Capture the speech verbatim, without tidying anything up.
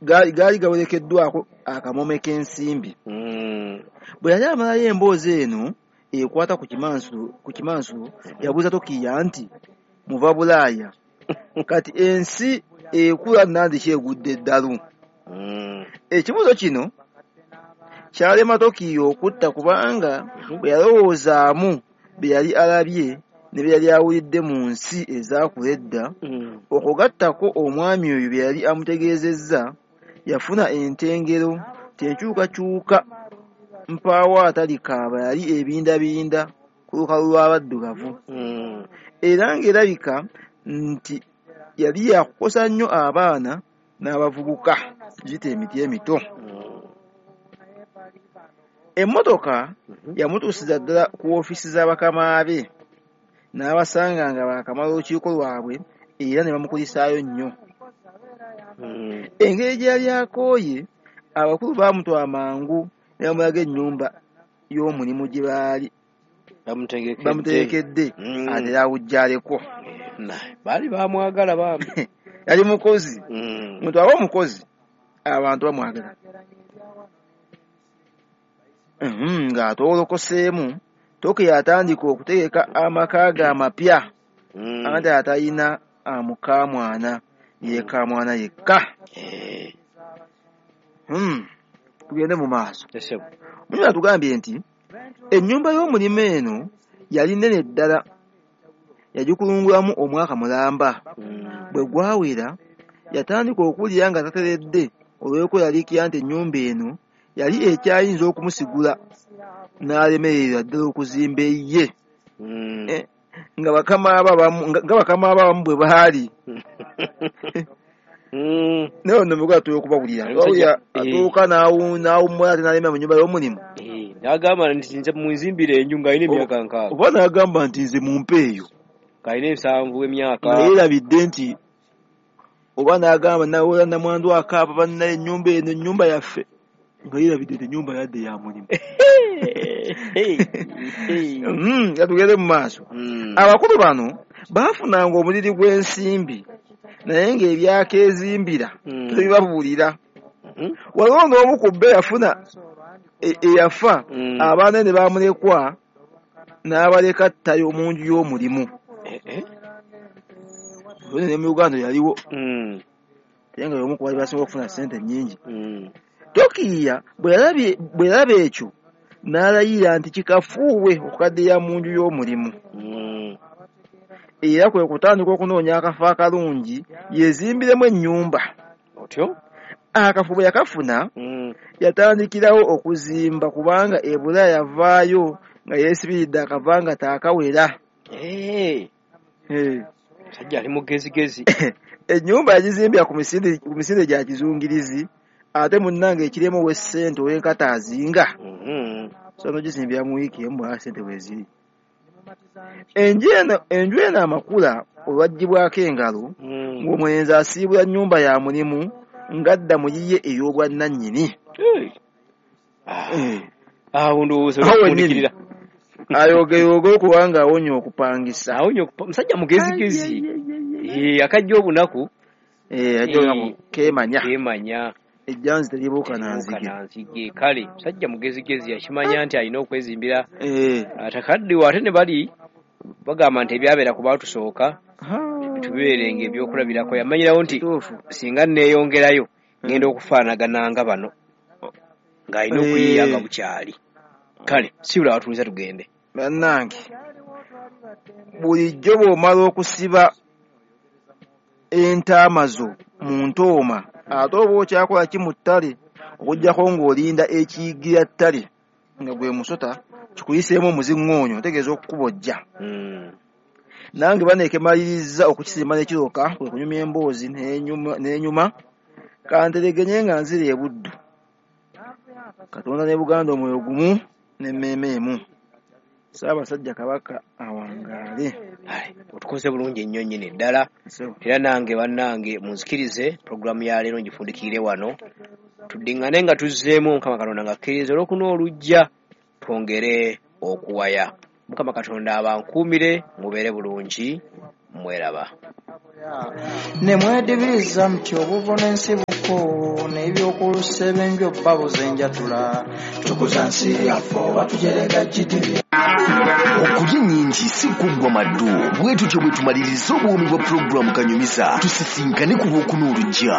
gaali gawerekeddwako akamome k'ensimbi. Bwe yali amalayo emboozi eno ekwata ku kimansulo ku kimansulo yabuuza Tokiya nti muva Bulaaya kati ensi ekula nandiki egudde eddalu. Ekibuuzo kino kyalema Tokiya okutta kubanga bwe yalowoozaamu bye yali alabye ne bye yali awulidde mu nsi ezaakula edda, okugattako omwami oyo bye yali amutegeezezza, yafuna entengero nti enkyukakyuka mpaawo atalikaaba yali ebindabinda ku lukalu lw'abaddugavu, era ng'erabika nti yali yakukosa nnyo abaana n'abavubuka giyite emiti emito. Emmotoka yamutuusiza ddala ku woofiisi za bakama be n'abasanga nga baakamala olukiiko lwabwe era ne bamukulisaayo nnyo. Engeri gye yali akooye, abakulu baamutwala mangu ne bamulaga ennyumba y'omulimu gye baali bamutegekedde atera awujjaleko. Baali bamwagala bambi. Yali mukozi. Muntu aba omukozi abantu bamwagala. Ng'atoolokoseemu, Tokiya atandika okutegeka amaka ge amapya anti atalina amukaamwana yeekaamwana yekka. Tugende mu maaso. Munyuma atugambye nti ennyumba y'omulimu eno yali nnene ddala, yagikulungulamu omwaka mulamba. Bwe gwawera yatandika okuwulira nga tateredde olw'okweraliikirira nti ennyumba eno yali ekyayinza okumusigula n'alemererwa ddala okuzimba eyiye nga bakama be abamu bwe baali. Naye ono mugola tuyo okubawulira atuuka n'awummula ate n'alemera mu nnyumba y'omulimu. N'agamba nti nze munzimbire enju ng'alina emyaka nkaaga, oba n'agamba nti nze mumpe eyo ng'alina ensanvu emyaka, nga yeerabidde nti oba n'agamba nawola namwandu akaaba bannaye ennyumba eno ennyumba yaffe, nga yeerabidde nti ennyumba yadde ya mulimu. Nga tugende mu maaso. Abakulu bano baafunanga omuliri gw'ensimbi naye ng'ebyakeezimbira tebibabuulira. Waliwo n'omu ku bo yafuna eyafa abaana ne bamulekwa n'abaleka ttayo mu nju y'omulimu. Ne mu Uganda yaliwo naye nga y'omu ku baali basinga okufuna ssente nnyingi. Tokiya bwe yalaba ekyo n'alayira nti kikafuuwe okukaddiya mu nju y'omulimu. Era kwe kutandika okunoonya akafo akalungi yeezimbiremu ennyumba. Otyo? Akafo bwe yakafuna yatandikirawo okuzimba kubanga e Bulaaya yavaayo nga yeesibiridde akava nga taakawera. Musajja ali mugezigezi. Ennyumba yagizimbira ku misinde gya kizungirizi ate munnange ekiremu ow'essente ow'enkata azinga. So n'ogizimbira mu wiiki emu bw'aba ssente weeziri. Enju eno amakula olwaggyibwako engalo ng'omulenzi asiibula nnyumba ya mulimu ng'adda mu yiye ey'obwannannyini. Awo ndowooza olw'okufundikirira. Ayogeyoge okubanga awonya okupangisa. Musajja mugezigezi. Akajja obunaku. Ajja obunaku keemanya. Keemanya. Ejjanzi teribuuka na nzige. Kale musajja mugezigezi yakimanya nti alina okwezimbira. Atakaddiwa ate ne bali bagamba nti ebyabeera ku baatusooka tubeerenga ebyokulabirako. Yamanyirawo nti singa neeyongerayo ngenda okufaanagana nga bano ng'alina okuyiiya nga bukyali. Kale siwula watuliza tugende. Bannange bulijjo bw'omala okusiba entaama zo mu ntooma ate oba okyakola ki mu ttale okuggyako ng'olinda ekiyigira ttale nga gwe musota kikuyiseemu omuziŋŋoonyo otegeeza okukubojja. Nange baneekemaliriza okukisimba n'ekiroka kwe kunyumya emboozi n'enyuma kanteregenye nga nzira e Buddu. Katonda ne Buganda omwoyo gumu n'emmeeme emu. Ssaabasajja Kabaka awangaale. Otukoze bulungi nnyo nnyini ddala. Era nange bannange munzikirize pulogulaamu ya leero ngifundikire wano. Tuddiŋŋane nga tuzzeemu Mukama Katonda ng'akkiriza olwokuna olujja twongere okuwaya. Mukama Katonda abankuumire mubeere bulungi mweraba. Ne mwedibiriza muti obuvo n'ensibuko. Nsiko n'ebyokulusebe babuze enjatula tukuza nsi yaffe oba tujerega G D P. Okulya ennyingi si kuggwa maddu. Bwe tutyo bwe tumaliriza obuwoomi bwa pulogulaamu Kanyumiza. Tusisinkane ku Lwokuna olujja.